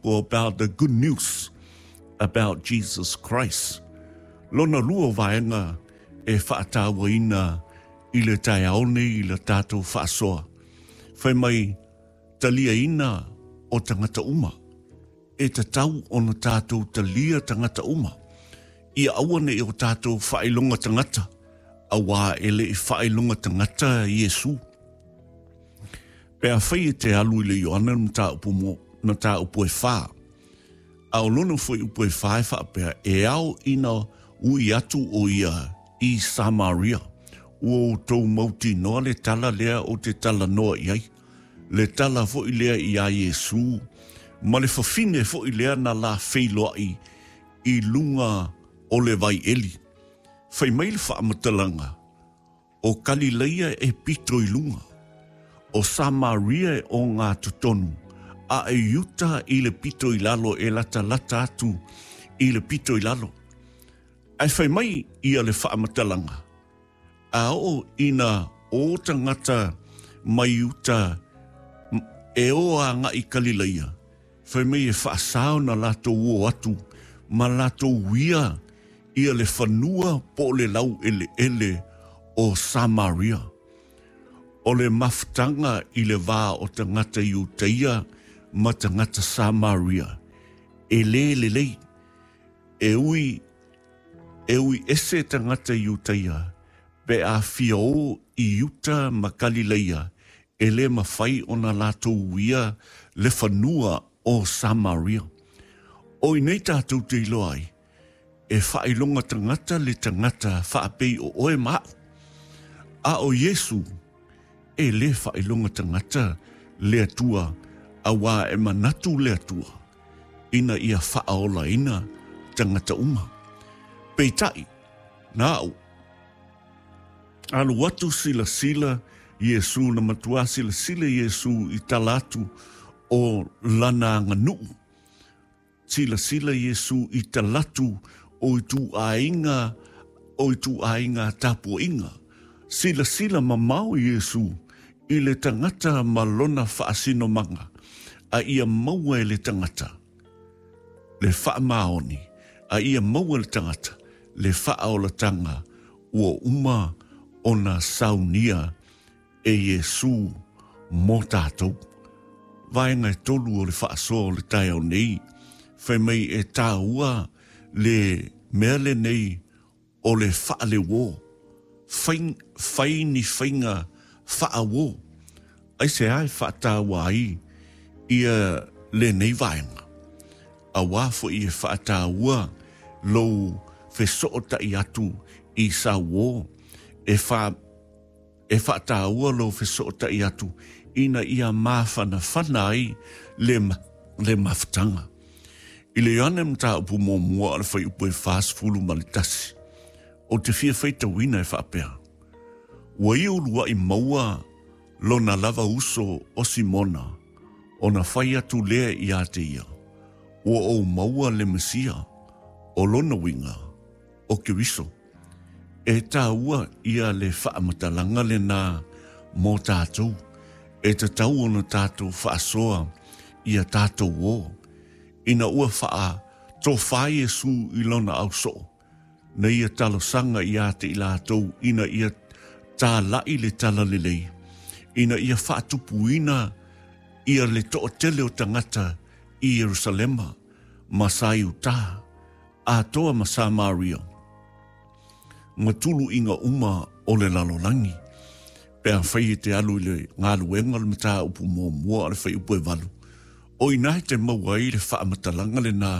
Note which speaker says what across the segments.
Speaker 1: people about the good news about Jesus Christ. Lona lua o vaega e faatauaina i le taeao nei i le tatou faasoa. Fai mai, taliaina o tagata uma. E tatau ona tatou talia tagata uma. Ia aua ne i o tatou faailoga tagata, auā e le i faailoga tagata Iesu. Pe afai e te alu i le Ioane le mataupu mo mataupu e whā, a o lona foi upu e whā e whaapea, e ao ina ui atu o ia i Samaria. Ua outou mautinoa le tala lea ou te talanoa i ai. Le tala foi lea iā Iesū, ma le fafine foi lea na la feiloai i luga o le vai eli. Fai mai le faamatalaga, O Kalileia e pito i luga, o Samaria e ogatotonu, a e Iuta i le pito i lalo e latalata atu i le pito i lalo. Ae fai mai ia le faamatalaga, A oo ina o tagata mai uta e o agai Kalileia, fai mai e faasao na latou o atu ma latou uia ia le fanua po o le laueleele o Samaria. O le mafutaga i le va o tagata Iutaia ma tagata Samaria, e le lelei. E ui, e ui ese tagata Iutaia pe a fia o i uta ma Kalileia, e le mafai ona latou uia le fanua o Samaria. O i nei tatou te iloa ai, e faailoga tagata le tagata faapei o oe ma a'u. A o Iesu, e le faailoga tagata le Atua, auā e manatu le Atua ina ia faaolaina tagata uma. Peitai, na a'u, alu atu silasila Iesu, na matuā silasila Iesu i tala atu o lana aganuu. Silasila Iesu i talatu o ituaiga o ituaiga tapuaiga. Silasila mamao Iesu i le tagata ma lona faasinomaga, a ia maua e le tagata le faamaoni, a ia maua e le tagata le faaolatanga ua uma ona saunia e Iesū mō tātou. Vaega e tolu o le faasoa o le taeao nei, fai mai e tāua le mea lenei o le faaleuō, fai, fai ni faiga faauō. Aisea e faataua ai ia lenei vaega? Auā foi e faataua lou fesootai atu i sauō e wha, E faataua lou fesootai atu ina ia māwhanawhana ai le, le mafutaga. I le Ioane mataupu muamua o le fuaiupu e 41, ou te fia faitauina e faapea, Ua ia uluai maua lona lava uso o Simona, ona fai atu lea iā te ia, Ua ou maua le Mesia, o lona uiga, o Keriso. E taua ia le faamatalaga lenā mō tātou, e tatau ona tātou faasoa i a tātou ō, ina ua whaa tofā Iesū i lona ausoo, na ia talosaga iā te i lātou ina ia tāla'i le talalelei, ina ia faatupuina ia le toatele o tagata i Ierusalema ma Saiutā, atoa ma Samaria, ma tuluiga uma o le lalolagi, pe afai e te alu i le galuega o le mataupu muamua o le fuaiupu e valu, o ina e te maua ai le faamatalaga lenā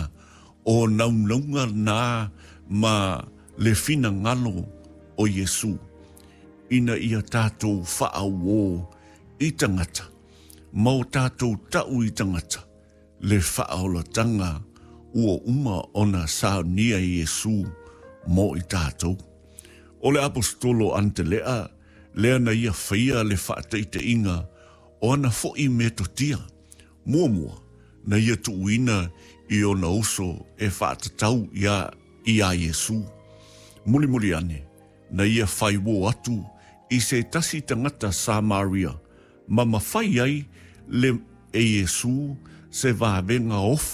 Speaker 1: o naunauga nā ma le finagalo o Iesū, ina ia tatou faaauō i tagata, ma o tatou ta'u i tagata, le faaolatanga ua uma ona saunia e Iesū mo i tatou. O le Aposetolo Antelea lea na ia faia le faataitaiga o ana foʻi metotia, muamua na ia tuuina i ona uso e faatatau iā iā Iesū. Mulimuli ane, na ia faiuō atu i se tasi tagata Samaria ma mafai ai le e Iesū se vavega ofu.